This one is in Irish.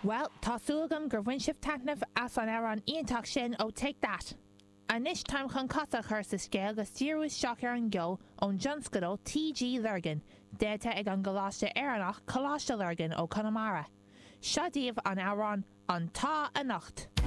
Bhuel, tá súil agam gur bhain sibh taitneamh as an amhrán iontach sin ó Take That! Anois táim chun cosa a chur sa scéal agus díriú isteach ar an gceol ón dtionscadal TG Lurgan, déanta ag an gcoláiste Éireannach Coláiste Lurgan ó Conamara. Seo daoibh an amhrán An t-Ádh Anocht!